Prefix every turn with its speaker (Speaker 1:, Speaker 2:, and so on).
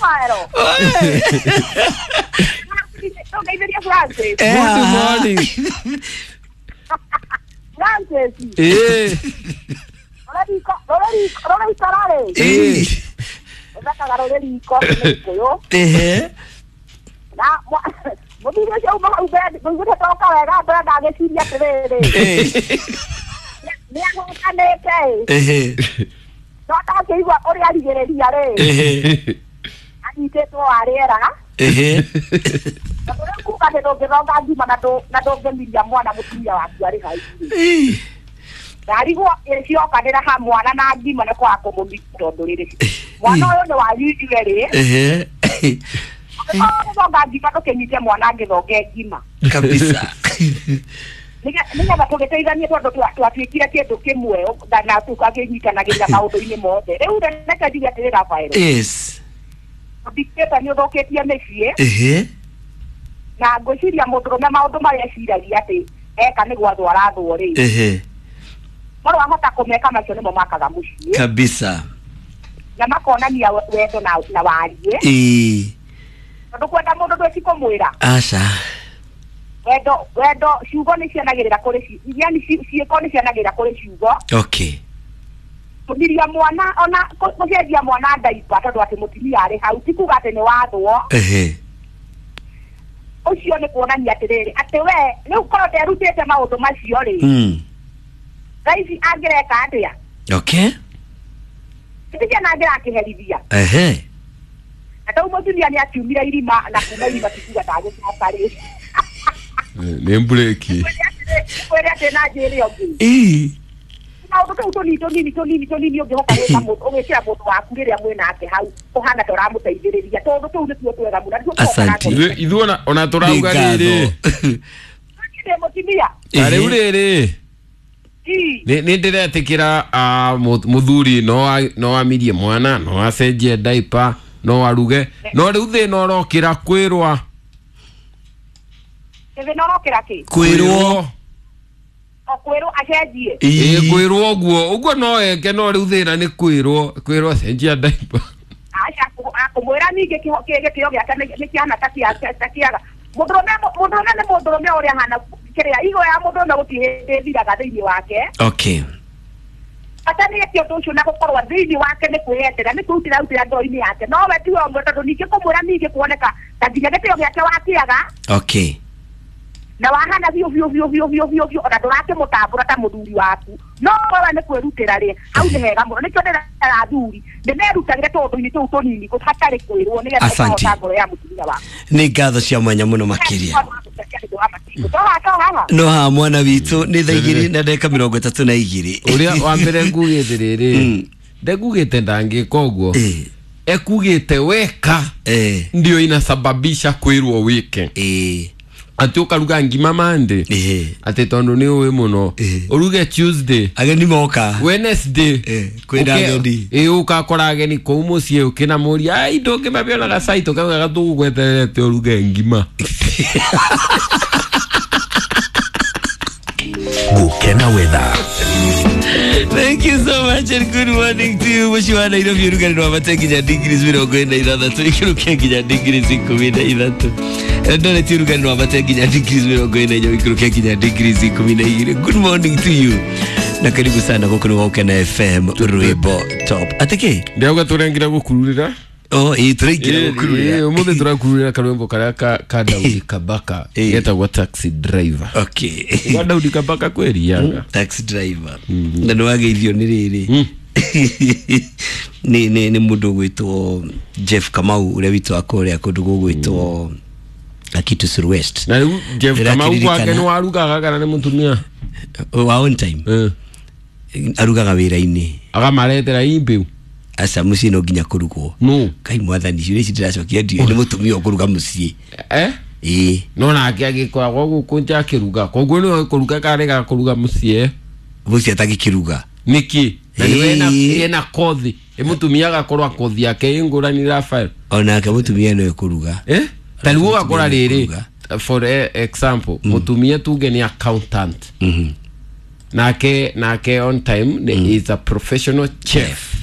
Speaker 1: Rafaelo. Ngeithĩria Francis.
Speaker 2: Good morning.
Speaker 1: Francis.
Speaker 2: Eh.
Speaker 1: Rora ikararĩ.
Speaker 2: Eh.
Speaker 1: Ũthakaga rũrĩ riko nĩ Gĩkũyũ.
Speaker 3: Ehe.
Speaker 1: Na mũthuri ũcio uma hau mbere ngũiguĩte toka wega mbere ndagĩciria atĩrĩrĩ. Nĩ ahũtanĩte ĩ.
Speaker 3: Ehe.
Speaker 1: No ndakĩigua ũrĩa arigĩrĩria rĩ.
Speaker 3: Ehe.
Speaker 1: Anyitĩtwo wa rĩera.
Speaker 3: Ehe.
Speaker 1: Tondũ rĩu kuga atĩ ndũngĩthonga ngima na ndũngĩmiria mwana mũtumia waku arĩ hau. Ndarigwo ĩciokanĩra ha mwana na ngima nĩ kwaga kũmũmia tondũ rĩrĩ mwana ũyũ nĩ wanyu inyuerĩ.
Speaker 3: Ehe.
Speaker 1: Gũthonga ngima ndũkĩnyite mwana angĩthonge ngima.
Speaker 3: Kabisa.
Speaker 1: Nĩgetha tũgĩteithanie tondũ twatuĩkire kĩndũ kĩmwe na tũkakĩnyitanagĩrĩra maũndũ-inĩ mothe. Rĩu reke njuge atĩrĩ Rafael.
Speaker 3: Yes.
Speaker 1: Ũthikĩte nĩ ũthũkĩtie mĩciĩ.
Speaker 3: Ehe.
Speaker 1: Na ngwĩciria mũndũrũme maũndũ marĩa eciragia atĩ eka nĩ gwathwo arathwo rĩ.
Speaker 3: Ehe.
Speaker 1: Korwo ahota kũmeka macio nĩmo makaga mũciĩ.
Speaker 3: Kabisa.
Speaker 1: Na makonania wendo na wariĩ.
Speaker 3: Ĩĩ.
Speaker 1: Tondũ kwenda mũndũ ndwĩci kũmwĩra.
Speaker 3: Aca.
Speaker 1: Wendo ciugo nĩ cianagĩrĩra kũrĩ yani ciĩko nĩ cianagĩrĩra kũrĩ ciugo.
Speaker 3: Okay.
Speaker 1: Kũmiria mwana ona kũcenjia mwana ndaipa tondũ atĩ mũtumia arĩ hau ti kuga atĩ nĩ wathwo.
Speaker 3: Ehe.
Speaker 1: Ũcio nĩ kuonania atĩrĩrĩ atĩ we rĩu korwo nderutĩte maũndũ macio rĩ. Thaa ici angĩreka atĩa?
Speaker 3: Okay.
Speaker 1: Tikia na angĩrakĩherithia.
Speaker 3: Ehe.
Speaker 1: Na tau mũtumia nĩ akiumire irima na kuma irima ti kuga ndagĩcoka rĩ.
Speaker 2: Nĩ mburĩki.
Speaker 1: Kwĩre atĩ na njĩre ũngĩ.
Speaker 3: Ĩĩ.
Speaker 1: Maũndũ tũu tũnini tũnini tũnini tũnini ũngĩhota gwĩka mũndũ ũgĩkĩra mũndũ waku rĩrĩa mwĩ nake hau ũhana ta ũramũteithĩrĩria tondũ tũu nĩtuo twega mũno.
Speaker 3: Asante.
Speaker 2: Ithuĩ ona tũrauga rĩrĩ.
Speaker 1: Ndĩ mũtumia.
Speaker 2: Ta rĩu rĩrĩ. Nĩ ndĩretĩkĩra mũthuri no amirie mwana no acenjie diaper no aruge no rĩu thĩna ũrokĩra kwĩrwa.
Speaker 1: Thĩna ũrokĩra kĩ?
Speaker 3: Kwĩrwo.
Speaker 1: O kwĩrwo acenjie.
Speaker 2: Ĩĩ kwĩrwo ũguo ũguo no eke no rĩu thĩna nĩ kwĩrwo kwĩrwo acenjia diaper.
Speaker 1: Aca kũmwĩra ningĩ gĩtĩo gĩake nĩ kĩhana ta kĩaga. Mũndũrũme nĩ mũndũrũme ũrĩa ahana kĩrĩa igo ya mũndũrũme gũtirĩ hĩndĩ ĩthiraga thĩinĩ wake.
Speaker 3: Okay.
Speaker 1: Bata nĩ eke ũndũ ũcio na gũkorwo thĩinĩ wake nĩ kwĩyendera nĩ kwĩrutĩra rutĩra ngoro-inĩ yake no we tiwe ũmwe tondũ ningĩ kũmwĩra ningĩ kuoneka ta nginya gĩtĩo gĩake wakĩaga.
Speaker 3: Okay.
Speaker 1: Na wahana biũ biũ biũ biũ biũ biũ biũ ona ndũrakĩmũtambũra ta mũthuri waku no wewe nĩ kwĩrutĩra rĩ hau nĩ hega mũno nĩkĩo ndĩrera athuri nĩmerutagĩre tũũndũ-inĩ tũu tũnini hatarĩ kwĩrwo nĩgetha ũkahota ngoro ya mũtumia waku.
Speaker 3: Nĩ ngatho cia mwanya mũno makĩria. No ha mwana witũ nĩ thaa igĩrĩ na ndagĩka mĩrongo ĩtatũ na igĩrĩ.
Speaker 2: Ũrĩa wa mbere ngugĩte rĩrĩ ndengugĩte ndangĩka ũguo ekugĩte weka ndio inasababisha kwĩrwo wĩke. Ati ũkaruga ngima Monday ati tondũ nĩ ũĩ mũno ũruge Tuesday
Speaker 3: ageni moka
Speaker 2: Wednesday
Speaker 3: kwĩna ageni
Speaker 2: ũgakora ageni kũu mũciĩ ũkĩnamũria ai ndũngĩmabia gacai tũkaugaga tũgũgweterete ũruge ngima.
Speaker 4: Gukena weather.
Speaker 3: Thank you so much and good morning to you. Mũciĩ wa Nairobi ũrugarĩ nĩ wambate nginya degrees 43 ikĩrũke nginya degrees 13. Eldoret ũrugarĩ nĩ wambate nginya degrees 44 ikĩrũke nginya degrees 12. Good morning to you. Na karibu sana gũkũ nĩ Gukena FM rwĩmbo top. Atĩkĩ?
Speaker 2: Ndĩrauga tũrengire gũkururĩra.
Speaker 3: Oh, ĩĩ tũraingĩra gũkururĩra.
Speaker 2: Ũmũthĩ tũrakururĩra karwĩmbo karĩa ka Daudi Kabaka getagwo Taxi Driver.
Speaker 3: Okay.
Speaker 2: Kwa Daudi Kabaka kwĩriaga.
Speaker 3: Taxi Driver. Na nĩ wageithio nĩ rĩrĩ. Nĩ mũndũ ũgwĩtwo Jeff Kamau ũrĩa witũ wa kũrĩa kũndũ gũgwĩtwo Akitu West.
Speaker 2: Na rĩu Jeff Kamau gwake nĩ warugaga kana nĩ mũtumia?
Speaker 3: Wa on time. Arugaga wĩra-inĩ.
Speaker 2: Akamaretera imbiu.
Speaker 3: Aca mũciĩ no nginya kũrugwo.
Speaker 2: No.
Speaker 3: Kai mwathani ciũria ici ndĩracokia ndiũĩ nĩ mũtumia ũkũruga mũciĩ. Ĩĩ.
Speaker 2: No nake agĩkoragwo gũkũ nja akĩruga koguo nĩwe kũruga karega kũruga mũciĩ.
Speaker 3: Mũciĩ atangĩkĩruga.
Speaker 2: Nĩkĩ? Na nĩwe ena kothi. Mũtumia agakorwo kothi yake ĩ ngũrani Rafael.
Speaker 3: Onake mũtumia nĩwe kũruga.
Speaker 2: Ta rĩu ũgakora rĩrĩ for example mũtumia tuge nĩ accountant. Nake on time is a professional chef.